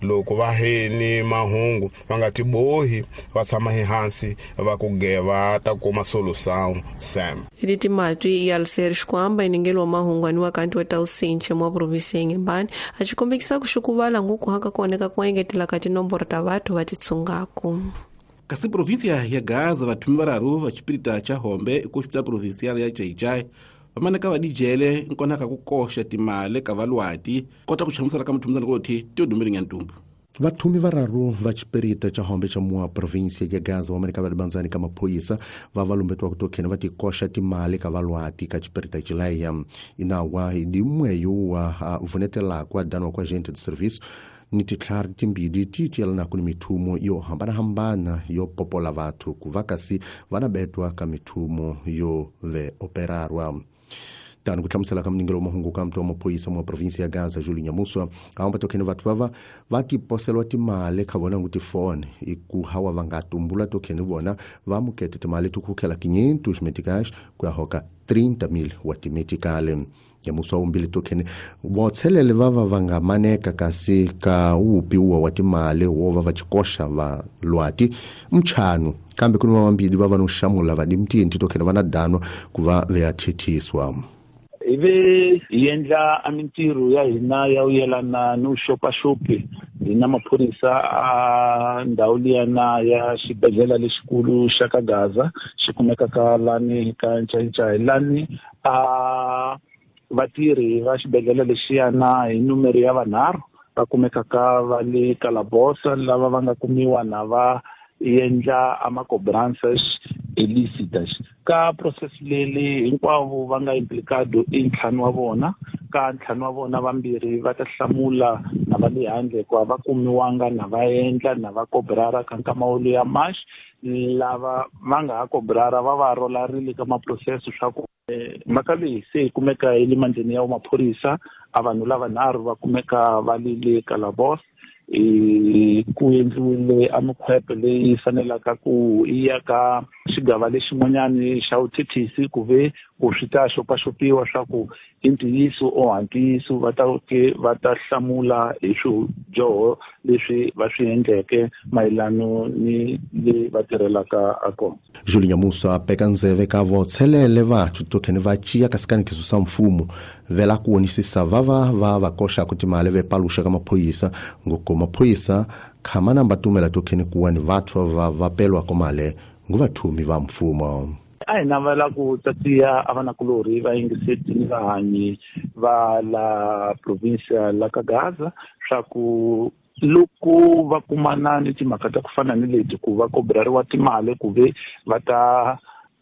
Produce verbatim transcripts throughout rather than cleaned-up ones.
Loko va heni mahungu va nga tibohi va tshama ehansi va ku geva ta kuma solução sam. Leti matwi ya Alcer Xikwamba iningelo wa mahungu aniwa kanti wa tausinche mwa provinsi ya Inhambane a xikombekisa ku xukuvala nguku haka kuoneka ku engetela ka tinomboro ta vathu va titsungako. Kasi provinsia ya Gaza vathumi vararu va xipirita cha Hombe ku hospital provincial ya Jai-Jai vamaneka va dijele nkonaka ku koxa timali ka valwati kota ku hlamusela ka muthumizana ku Teodomiro Nyantumbu. Vathumi vararu va xipirita cha Hombe cha mua provinsia ya Gaza vamaneka va libanzani ka maphorisa va va lumbetiwa ku tokheni va tikoxa timali ka valwati ka xipirita xileya inawa hi dimweyo wa vunetelaka danwa kwa agente de serviço ni titlhari timbili ti tiyelanaka ni mithumo yo hambanahambana yo popola vathu ku va kasi va na betwa ka mithumo yo ve operarwa. Tano ku hlamusela ka mningelo wa mahungu ka mtu wa maphorisa mwa provinsi ya Gaza Julie Nyamuswa aomba tokheni vathu vava va tiposelwa timali kha vona ngu tifone iku hawa va nga tumbula tokheni vona va mukete timali ti kukhela quinhentos meticais ku ya hoka trinta mil wa timeticale. Nyamuswa umbili tokheni votshelele vava va nga maneka kasi ka upiwa wa timali wo va va xikoxa va lwati mchanu kambe ku ni vambili va va no xamula va dimtinti tokheni va na dano ku va ve thithiswa. Ivi hi endla a mintirho ya hina ya u yelana no xopaxopi hina maphorisa a ndhawu liyana ya xibedhlele lexikulu xa ka Gaza xi kumekaka lani ka Ncayincai lani a vatirhi va xibedhlele lexiyana hi numero ya vanharhu va kumekaka va le Kalabosa lava va nga kumiwa na va endla a macobranças ilícitas. Ka process leli hinkwavo va nga implicado i ntlhanu wa vona ka ntlhanu wa vona vambirhi va ta hlamula na va le handle hikuva va kumiwanga na va endla na va cobrara ka nkama wo ya march lava va nga ha cobrara va va rolarile ka maprocesso swa ku mhaka leyi se yi kumeka yi le mandleni ya maphorisa a vanhu lavanharhu va kumeka va li le Kalabos e ku endliwile a mikhwepe leyi fanelaka ku ya ka xigava lexin'wanyani xa vuthethisi ku ve ku swi ta xopaxopiwa swa ku i ntiyiso o ha ntiyiso va ta ke va ta hlamula hi swidyoho leswi va swi endleke mayelano ni le va tirhelaka a kona. Julie Nyamusa peka ndzeve ka votshelele vathu tokheni va ciya kasi kanikiso sa mfumo vela ku wonisisa vava va va koxaka timali ve paluxa ka maphorisa ngoko maphorisa khama namba tumela tokheni kuwa ni vathu va va pelwa komale nguvathumi va mfumo. A hi navela ku tatiya a vanakulorhi va yingiseti ni vahanyi va la provinsia la ka Gaza swa ku loko va kumana ni timhaka ta ku fana ni leti ku va kobrariwa timali ku ve va ta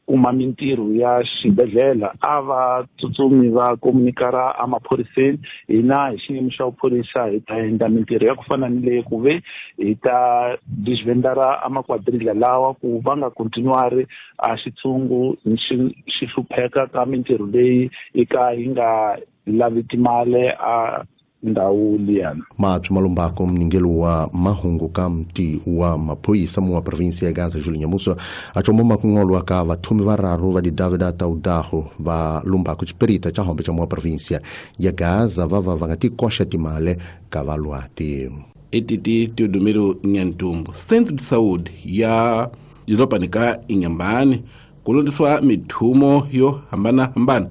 kuma mintirho ya xibedhlele a va tsutsumi va komunikara emaphoriseni hina hi xiyimo xa vuphorisa hi ta endla mintirho ya ku fana ni leyi ku ve hi ta disvendara amakwadrila lawa ku va nga continuari a xitshungu xi xi hlupheka ka mintirho leyi yi ka yi nga lavi timali a ndhawu liyana. Maphi malumbako mningelo wa mahungu ka mti wa maphorisa mu wa provinsi ya Gaza Julie Nyamusa achomoma kungolwa ka vathumi vararu va didavida taudaho va lumbako xipirita cha Hombe cha mu wa provinsia ya Gaza va va va nga tikoxa timale ka valwati. Etiti Teodomiro Nyantumbu Centro de Saúde ya doroba ka Inhambane ku londiswa mithumo yo hambanahambana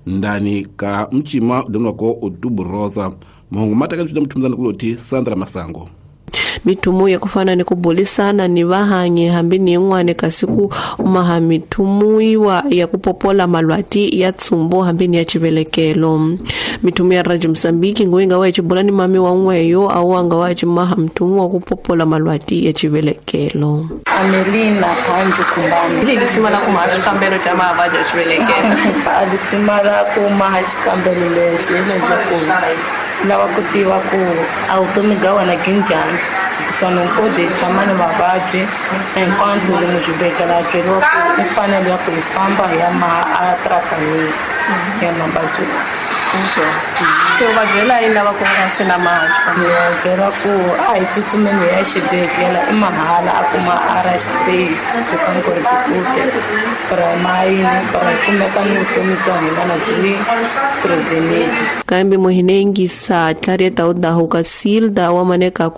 ndani ka mchima udonwako Outubro Rosa mahungu mataka bya mthumzana kuloti Sandra Masango. Mithumo ya kufana ni kubulisana ni vahanyi hambi ni yin'wana kasi ku maha mithumuiwa ya kupopola malwati ya tsumbo hambi ni ya chivelekelo. Mithumo ya Radio Mozambique ngoyinga wa chibula ni mami wa n'weyo awanga wa chimaha mthumo wa kupopola malwati ya chivelekelo. Amelina Kanji Kumbani Lilisima la kumaha xikambelo xa mavabyi ya chivelekelo. Alisima la kumaha xikambelo lexi leswaku lava ku tiva ku a vutomi bya wena byi njhani hikusa nokode tshama ni mavabyi enquanto lomu xibedhlele a byeriwa ku i fanele ya ku hi famba hi ya maha a tratamento ya mavabyi. Se u va byela yini lava ku nga se na mavabyi? Ni va byela ku a hi tsutsumeni hi ya xibedhlele i mahala a kuma a ra straight ku ri mayini kumeka ni vutomi bya hina na byi prevented. Kambe muhinengisa tlarieta udahuka silda wa maneka ku